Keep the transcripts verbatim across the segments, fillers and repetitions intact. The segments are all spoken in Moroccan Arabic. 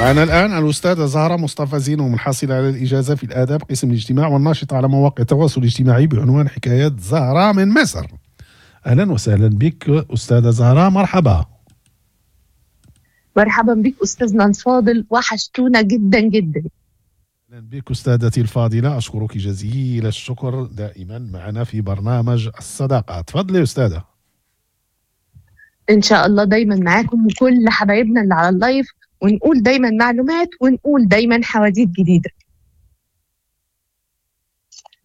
معنا الآن الأستاذة زهرة مصطفى زينو، الحاصلة على الإجازة في الآداب قسم الاجتماع والناشطة على مواقع التواصل الاجتماعي بعنوان حكايات زهرة من مصر. أهلا وسهلا بك أستاذة زهرة، مرحبا. مرحبا بك أستاذنا الفاضل، وحشتونا جدا جدا. أهلا بك أستاذتي الفاضلة، أشكرك جزيل الشكر، دائما معنا في برنامج الصداقة. تفضلي أستاذة. إن شاء الله دايما معاكم وكل حبايبنا اللي على ال live، ونقول دايما معلومات ونقول دايما حواديت جديدة.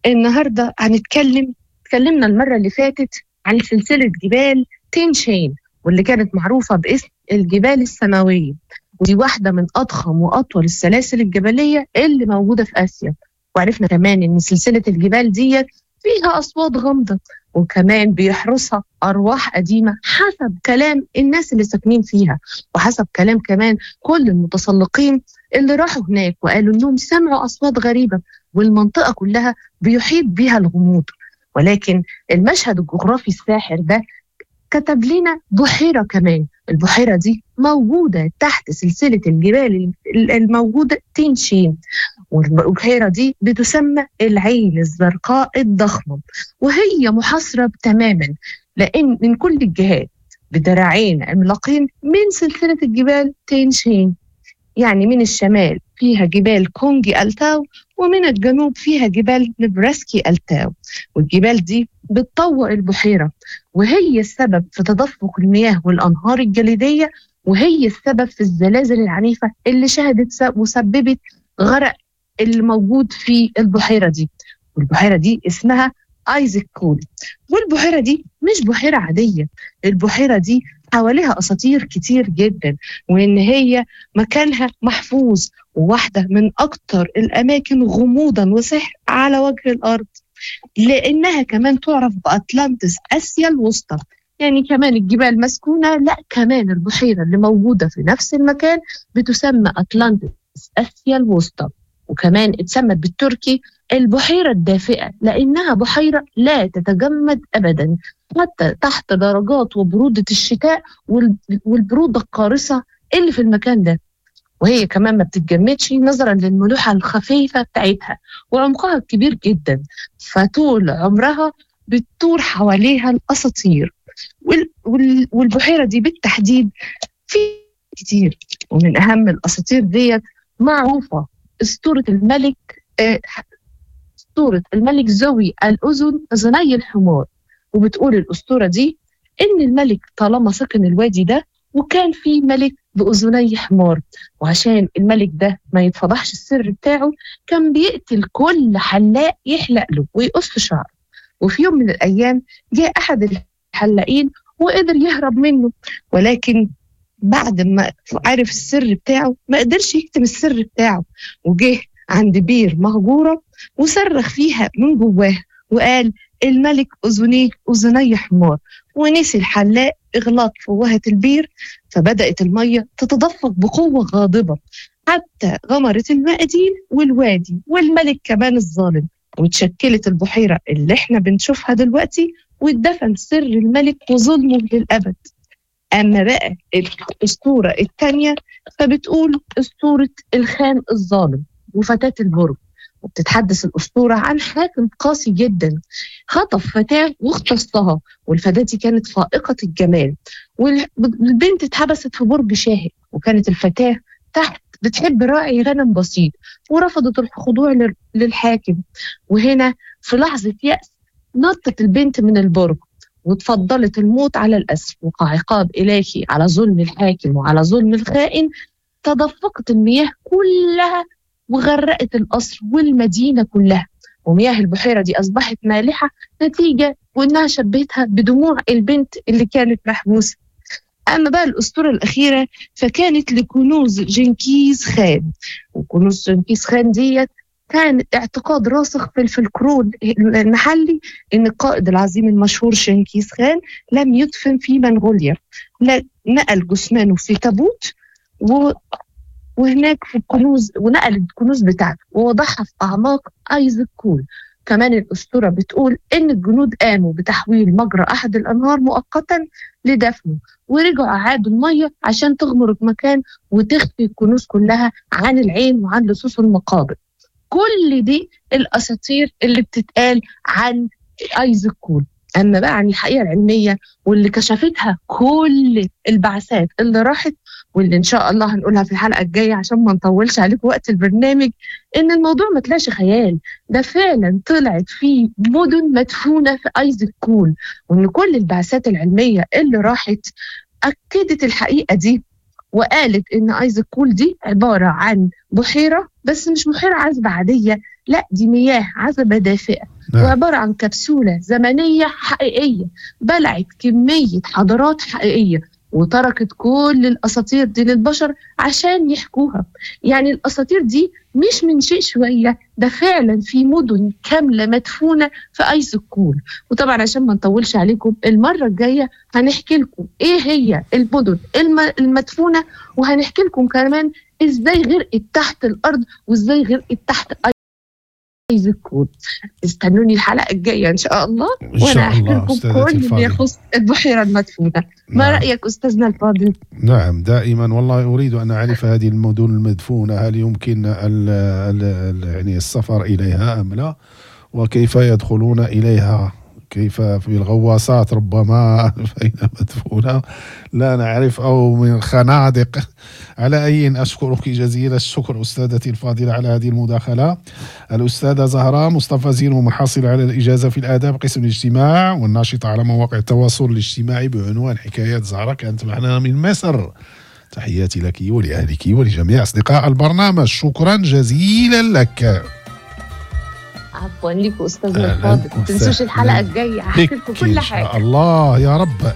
النهاردة هنتكلم، اتكلمنا المرة اللي فاتت عن سلسلة جبال تينشين واللي كانت معروفة باسم الجبال السماوية، ودي واحدة من أضخم وأطول السلاسل الجبلية اللي موجودة في آسيا. وعرفنا كمان إن سلسلة الجبال دي فيها أصوات غامضة، وكمان بيحرسها أرواح قديمة حسب كلام الناس اللي ساكنين فيها، وحسب كلام كمان كل المتسلقين اللي راحوا هناك وقالوا إنهم سمعوا أصوات غريبة، والمنطقة كلها بيحيط بها الغموض. ولكن المشهد الجغرافي الساحر ده كتب لنا بحيرة كمان، البحيرة دي موجودة تحت سلسلة الجبال الموجودة تينشين، والبحيرة دي بتسمى العين الزرقاء الضخمة، وهي محاصرة تماما لأن من كل الجهات بدراعين عملاقين من سلسلة الجبال تينشين. يعني من الشمال فيها جبال كونجي ألتاو، ومن الجنوب فيها جبال نبراسكي ألتاو، والجبال دي بتطوق البحيرة، وهي السبب في تدفق المياه والأنهار الجليدية، وهي السبب في الزلازل العنيفة اللي شهدت وسببت غرق اللي موجود في البحيرة دي. والبحيرة دي اسمها آيزك كول. والبحيرة دي مش بحيرة عادية، البحيرة دي حواليها أساطير كتير جدا، وإن هي مكانها محفوظ وواحدة من أكتر الأماكن غموضا وسحر على وجه الأرض، لأنها كمان تعرف بأطلانتس آسيا الوسطى. يعني كمان الجبال مسكونة، لا كمان البحيرة اللي موجودة في نفس المكان بتسمى أطلانتس آسيا الوسطى، وكمان اتسمت بالتركي البحيرة الدافئة لأنها بحيرة لا تتجمد أبدا حتى تحت درجات وبرودة الشتاء والبرودة القارصة اللي في المكان ده. وهي كمان ما بتتجمدش نظرا للملوحة الخفيفة بتاعتها وعمقها الكبير جدا، فطول عمرها بتدور حواليها الأساطير. والبحيرة دي بالتحديد في كتير، ومن أهم الأساطير ديت معروفة أسطورة الملك أسطورة الملك زوي الأذن أذني الحمار. وبتقول الأسطورة دي إن الملك طالما سكن الوادي ده وكان في ملك بأذني حمار، وعشان الملك ده ما يتفضحش السر بتاعه كان بيقتل كل حلاق يحلق له ويقص شعره. وفي يوم من الأيام جاء أحد الحلاقين وقدر يهرب منه، ولكن بعد ما عرف السر بتاعه ما قدرش يكتم السر بتاعه، وجه عند بير مهجورة وصرخ فيها من جواه وقال الملك أذنيه أذني حمار، ونسي الحلاق إغلاق فوهة البير، فبدأت المية تتدفق بقوة غاضبة حتى غمرت المقادير والوادي والملك كمان الظالم، وتشكلت البحيرة اللي احنا بنشوفها دلوقتي، واتدفن سر الملك وظلمه للأبد. أما بقى الأسطورة الثانية فبتقول أسطورة الخان الظالم وفتاة البرج. وبتتحدث الأسطورة عن حاكم قاسي جدا خطف فتاة واغتصبها، والفتاة دي كانت فائقة الجمال، والبنت اتحبست في برج شاهق، وكانت الفتاة تحت بتحب راعي غنم بسيط ورفضت الخضوع للحاكم. وهنا في لحظة يأس نطت البنت من البرج وتفضلت الموت على الأسر، وكعقاب إلهي على ظلم الحاكم وعلى ظلم الخائن تدفقت المياه كلها وغرقت القصر والمدينة كلها، ومياه البحيرة دي أصبحت مالحة نتيجة وإنها شبهتها بدموع البنت اللي كانت محبوسة. أما بقى الأسطورة الأخيرة فكانت لكنوز جنكيز خان، وكنوز جنكيز خان ديت كان اعتقاد راسخ في الفلكلور المحلي إن القائد العظيم المشهور جنكيز خان لم يدفن في منغوليا، لا نقل جثمانه في تابوت و وهناك في الكنوز، ونقل الكنوز بتاعته ووضعها في أعماق آيزك كول. كمان الأسطورة بتقول إن الجنود قاموا بتحويل مجرى أحد الأنهار مؤقتا لدفنه، ورجعوا أعادوا المية عشان تغمر المكان وتخفي الكنوز كلها عن العين وعن لصوص المقابر. كل دي الأساطير اللي بتتقال عن آيزك كول. أما بقى عن الحقيقة العلمية واللي كشفتها كل البعثات اللي راحت، واللي إن شاء الله هنقولها في الحلقة الجاية عشان ما نطولش عليكم وقت البرنامج، إن الموضوع ما طلعش خيال، ده فعلا طلعت فيه مدن مدفونة في آيزك كول، وإن كل البعثات العلمية اللي راحت أكدت الحقيقة دي وقالت إن آيزك كول دي عبارة عن بحيرة، بس مش بحيرة عذبة عادية، لا دي مياه عذبة دافئة. نعم. وعبارة عن كبسولة زمنية حقيقية بلعت كمية حضارات حقيقية وتركت كل الأساطير دي للبشر عشان يحكوها. يعني الأساطير دي مش من شيء شوية، ده فعلا في مدن كاملة مدفونة في آيزك كول. وطبعا عشان ما نطولش عليكم المرة الجاية هنحكي لكم ايه هي المدن المدفونة، وهنحكي لكم كمان ازاي غرقت تحت الأرض وازاي غرقت تحت آيزك كول. استنوني الحلقة الجاية إن شاء الله، وأنا أحكي لكم كل ما يخص البحيرة المدفونة. ما نعم. رأيك أستاذنا الفاضل؟ نعم دائما والله أريد أن أعرف هذه المدن المدفونة، هل يمكن ال ال يعني السفر إليها أم لا، وكيف يدخلون إليها، كيف في الغواصات ربما فإن مدفونة لا نعرف، أو من الخنادق. على أي أشكرك جزيل الشكر أستاذتي الفاضلة على هذه المداخلة. الأستاذة زهرة مصطفى زينو، محصلة على الإجازة في الآداب قسم الاجتماع، والناشطة على مواقع التواصل الاجتماعي بعنوان حكايات زهرة، كانت معنا من مصر. تحياتي لك ولأهلك ولجميع أصدقاء البرنامج، شكرا جزيلا لك. عفوا لكم أستاذنا الفاضل، ما تنسوش الحلقة الجاية هحكي لكم كل حاجة. الله يا رب.